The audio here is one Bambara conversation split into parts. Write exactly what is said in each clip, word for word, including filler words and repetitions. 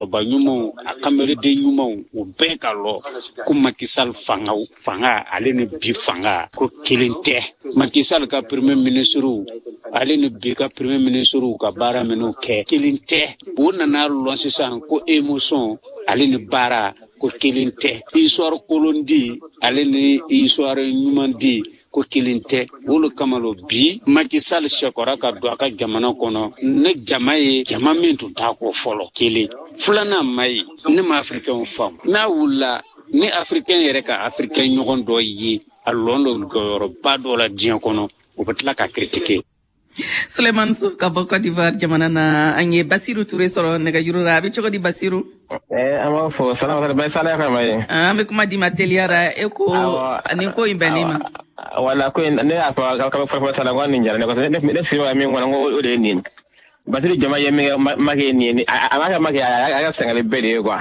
Ɲumanw, a kamereden ɲumanw, u bɛɛ ka lɔ ko Macky Sall fanga fanga ale ni bi fanga ko kelen tɛ. Macky Sall ka premier ministre, ale ni bi ka premier ministre ka baara minnu kɛ, kelen tɛ. U nana lɔn sisan ko émotion ale ni baara ko kelen tɛ, histoire kolon di ale ni histoire ɲuman di ko kelen tɛ. Olu kama lo bi Macky Sall sɛkɔra ka don a ka jamana kɔnɔ ne jama ye, jama min tun t'a kɔ fɔlɔ. Kelen filanan ma ye, ne ma Africain faamu. N'a wulila ni Africain yɛrɛ ka Africain ɲɔgɔn dɔ ye, a lɔn dɔ jɔyɔrɔba dɔ la diɲɛ kɔnɔ, o bɛ tila ka critiquer. Suleiman So ka bɔ Côte d'Ivoire jamana na. An ye Basiru Ture sɔrɔ nɛgɛjuru la. A bɛ cogo di, Basiru? Eh, an b'a fɔ salamata bɛ sala kama ye. An bɛ kuma di ma teliyara. E ko nin ko in bɛnnen ma? Wala ko ne y'a fɔ ka fɔlɔ fɔlɔ sala ko nin diyara ne kosɛbɛ. Ne ne sigi min kɔnɔ, ko o de ye nin Basiru jama ye min kɛ Macky ye nin ye, a m'a kɛ Macky, a ka Senegali bɛɛ de ye quoi.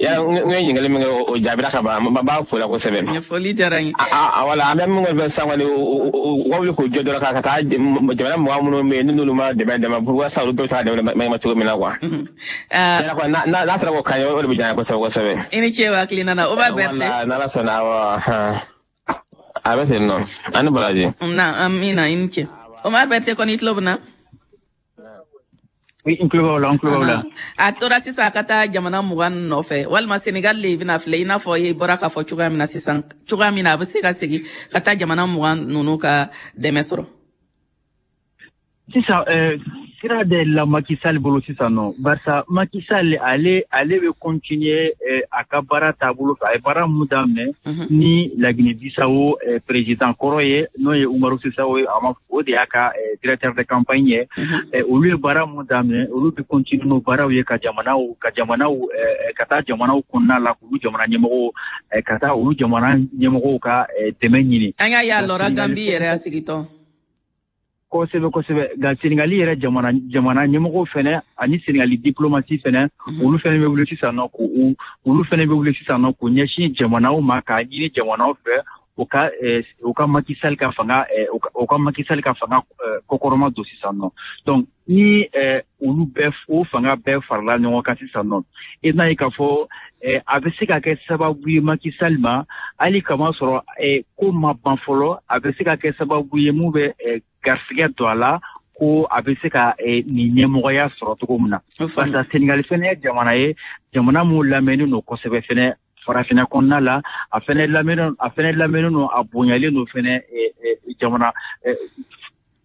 Ya n ye ɲininkali min kɛ, o jaabira ka ban. N b'a fo la kosɛbɛ. Ɲɛfɔli diyara n ye. Wala an bɛ min kɛ sisan kɔni, u ka wuli k'u jɔ dɔrɔn ka taa jamana mɔgɔ minnu bɛ yen n'olu ma dɛmɛ dɛmɛ walasa olu bɛɛ bɛ se ka dɛmɛ ma cogo min na quoi. Tiɲɛna quoi, n'a sera k'o kan ye, o de bɛ diya n ye kosɛbɛ kosɛbɛ. I ni ce o hakilina na, o b'a bɛɛ. Wala n'Ala sɔnna, awɔ, a bɛ ten nɔ, ani baraji. Na amina, i ni ce. Omar Berthe kɔni, i tulo bɛ na? Oui, n tulo b'aw la, n tulo b'aw la. A tora sisan a ka taa jamana mugan nɔfɛ, walima Senegal le bɛna filɛ, i n'a fɔ i bɔra k'a fɔ cogoya min na sisan, cogoya min na a bɛ se ka segin ka taa jamana mugan ninnu ka dɛmɛ sɔrɔ. Sisan sira de la Macky Sall bolo sisan nɔ, barisa Macky Sall ale ale bɛ continuer a ka baara taabolo fɛ. A ye baara mun daminɛ ni la Guinée-Bissau président kɔrɔ ye, n'o ye Umaru Sissoco ye, a ma o de y'a ka directeur de campagne ye, olu ye baara mun daminɛ, olu bɛ continuer n'o baaraw ye ka jamanaw ka jamanaw ka taa jamanaw kɔnɔna la, k'olu jamana ɲɛmɔgɔw ka taa olu jamana ɲɛmɔgɔw ka dɛmɛ ɲini. An y'a ye a lɔra Gambie yɛrɛ a sigitɔ. Kosɛbɛ kosɛbɛ. Nka Senegali yɛrɛ jamana jamana ɲɛmɔgɔw fɛnɛ ani Senegali diplomatie fɛnɛ, olu fɛnɛ bɛ wuli sisan nɔ k'u olu fɛnɛ bɛ wuli sisan nɔ k'u ɲɛsin jamanaw ma, k'a ɲini jamanaw fɛ u ka u ka Macky Sall ka fanga u ka Macky Sall ka fanga kɔkɔrɔma don sisan nɔ. Donc ni olu bɛɛ, o fanga bɛɛ farala ɲɔgɔn kan sisan nɔ, i n'a ye k'a fɔ a bɛ se ka kɛ sababu ye Macky Sall ma, hali kama sɔrɔ ko ma ban fɔlɔ, a bɛ se ka kɛ sababu ye mun bɛ garisɛgɛ don a la, ko a bɛ se ka nin ɲɛmɔgɔya sɔrɔ cogo min na. Parce que Senegali fɛnɛ ye jamana ye, jamana mun lamɛnnen don kosɛbɛ fɛnɛ farafinna kɔnɔna la. A fɛnɛ lamɛnnen a fɛnɛ lamɛnnen don, a bonyalen don fɛnɛ jamana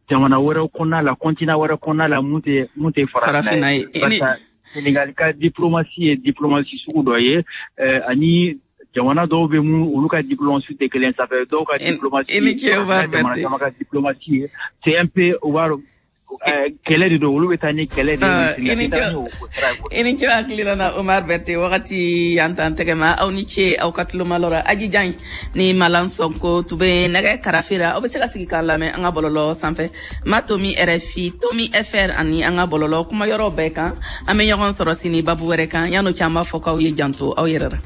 jamana wɛrɛw kɔnɔna la, continent wɛrɛ kɔnɔna la mun tɛ mun tɛ farafinna ye. Parce que Senegali ka diplomatie ye diplomatie sugu dɔ ye ani jamana dɔw bɛ mun olu ka diplomatie tɛ kelen. Ça fait dɔw ka diplomatie, jamana caman ka diplomatie ye, c'est un peu u b'a kɛlɛ de don, olu bɛ taa ni kɛlɛ de ye. I ni ce hakilina na, Omar Berthe. Wagati y'an tan tɛgɛ ma. Aw ni ce aw ka tulomalɔ la. Aji Jan ni Malan Sɔnko tun bɛ nɛgɛ karafe la. Aw bɛ se ka sigi k'an lamɛn an ka bɔlɔlɔ sanfɛ, ma tomi R F I tomi F R ani an ka bɔlɔlɔ kuma yɔrɔ bɛɛ kan. An bɛ ɲɔgɔn sɔrɔ sini babu wɛrɛ kan. Yan'o cɛ, an b'a fɔ k'aw ye janto aw yɛrɛ la.